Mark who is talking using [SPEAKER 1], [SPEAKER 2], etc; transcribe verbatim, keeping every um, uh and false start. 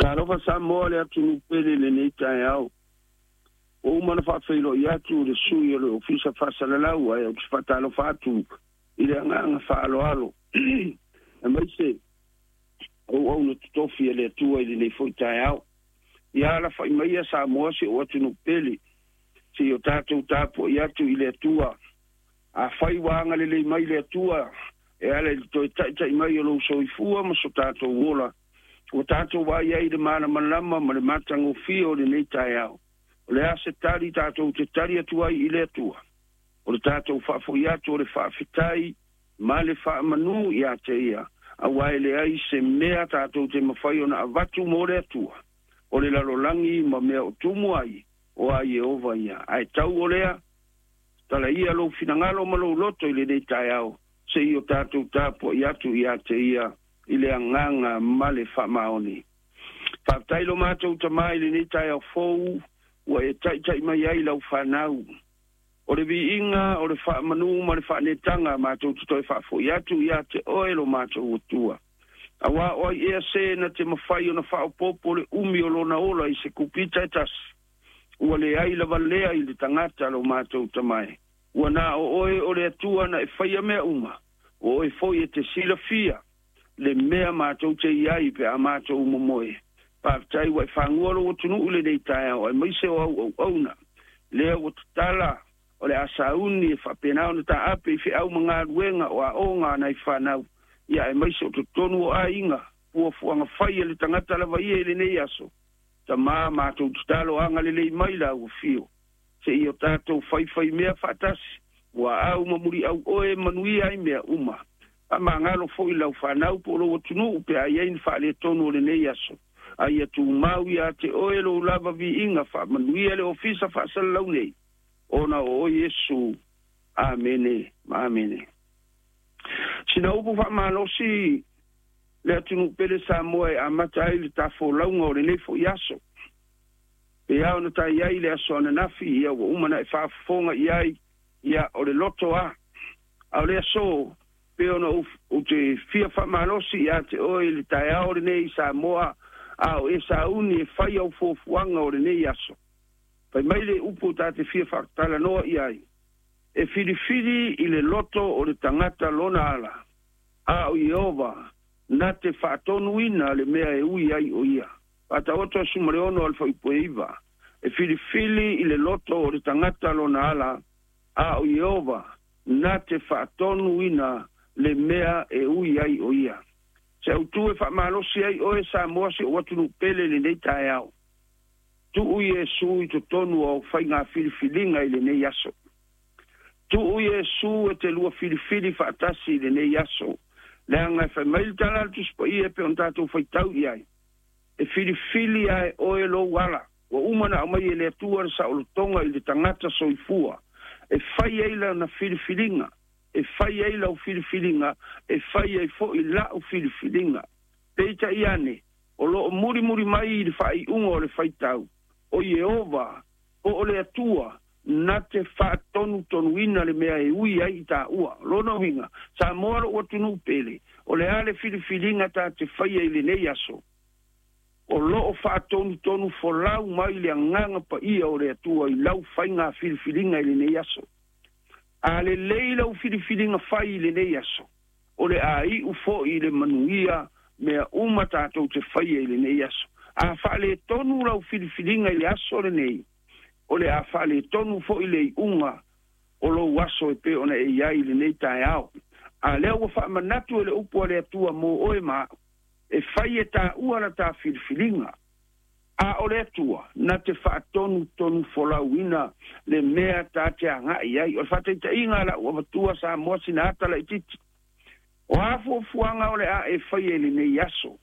[SPEAKER 1] Talofa Samoa le atunuu pele i lenei taeao. Ua uma ona faafeiloai atu le sui o le Ofisa Faasalalau, ae ou te faatalofa atu i le agaga faaaloalo aemaise auauna totofi a le Atua i lenei foi taeao. Ia alafai maia Samoa si ou atunuu pele, seia o tatou tapuai atu i le Atua. Afai ua agalelei mai le Atua e ala i le toe taitai mai o lou soifua ma so tatou ola, ua tatou vaai ai i le malamalama ma le matagofie o lenei taeao. O le a se tali tatou te tali atu ai i le Atua? O le tatou faafoi atu o le faafetai ma le faamanu ia te ia, aua e leai se mea tatou te mafai ona avatu mo le Atua, o le lalolagi ma mea o tumu ai, o a Ieova ia. Ae tau o lea, tala ia lou finagalo ma lou loto i lenei taeao, seia o tatou tapuai atu ia te ia i le agaga ma le faamaoni. Faafetai lo matou Tamā i lenei taeao fou ua e taitai mai ai lau fanau. O le viiga, o le faamanu ma le faanetaga matou te toe faafoi atu ia te oe lo matou Atua. Aua o ai ea se na te mafai ona faaopoopo le umi o lona ola i se kupita e tasi. Ua leai lava lea i le tagata lo matou Tamā e. Ua na o oe o le Atua na e faia mea uma. O oe foi e te silafia le mea matou te iai pe a matou momoe. Faafetai ua e fagua lou atunuu i lenei taeao, aemaise o au auauna. Lea ua tatala o le a sauni e faapena ona taape i feau ma galuega o aoga a nai fanau, ia aemaise o totonu o aiga, fuafuaga fai a le tagata lava ia i lenei aso. Tamā, matou tatalo agalelei mai lau afio, seia o tatou faifaimea faatasi, ua au ma muliau oe manuia ai mea uma. Faamagalo foi lau fanau po o lou atunuu pe a i ai ni faaletonu o lenei aso. A ia tumau ia te oe lou lava viiga, faamanuia le Ofisa Faasalalau nei, ona o oe Iesu. Amene ma amene. Sina upu faamalosi le atunuu pele Samoa e amata ai le tafolauga o lenei foi aso. Pe a ona tai ai le aso ananafi, ia ua uma na e faafofoga i ai, ia o le loto a. A o le aso, pe ona ou te fia faamalosi ia te oe i le taeao lenei Samoa, a o e sauni e fai au fuafuaga o lenei aso. Fai mai le upu ta te fia faatalanoa i ai, e filifili i le loto o le tagata lona ala, a o Ieova na te faatonuina le mea e ui ai o ia. Faataoto aso ma le ono o le fuaiupu e iva. E filifili i le loto o le tagata lona ala, a o Ieova na te faatonuina le mea e ui ai o ia. Se autu e faamalosi ai oe Samoa si ou atunuu pele i lenei taeao. Tuu Iesu i totonu o au faiga filifiliga i lenei aso. Tuu Iesu e te lua filifili faatasi i lenei aso. Leaga e fai mai le tala a le Tusi Paia pe ona tatou faitau i ai, e filifili ae oe lou ala. Ua uma na aumai e le Atua le saolotoga i le tagata soifua e fai ai lana filifiliga, e fai ai lau filifiliga, e fai ai foi la'u filifiliga. Peitai ane, o loo mulimuli mai i le faaiuga o le faitau, o Ieova po o le Atua na te faatonutonuina le mea e ui ai i taua. Lona uiga, Samoa lou atunuu pele, o le a le filifiliga ta te faia i lenei aso, o loo faatonutonu folau mai le agaga paia o le Atua i lau faiga filifiliga i lenei aso. A lelei lau filifiliga fai i lenei aso, o le a iu foi i le manuia mea uma tatou te faia i lenei aso. A faaletonu lau filifiliga i le aso lenei, o le a faaletonu foi le iuga o lou aso e pei ona e iai i lenei taeao. A lea ua faamanatu e le upu a le Atua mo oe ma a'u, e fai e taua la ta filifiliga, a o le Atua na te faatonutonu folauina le mea ta te agai ai. O le faataitaiga a la'u avatua Samoa sina ata laitiiti, o a fuafuaga o le a e faia i lenei aso.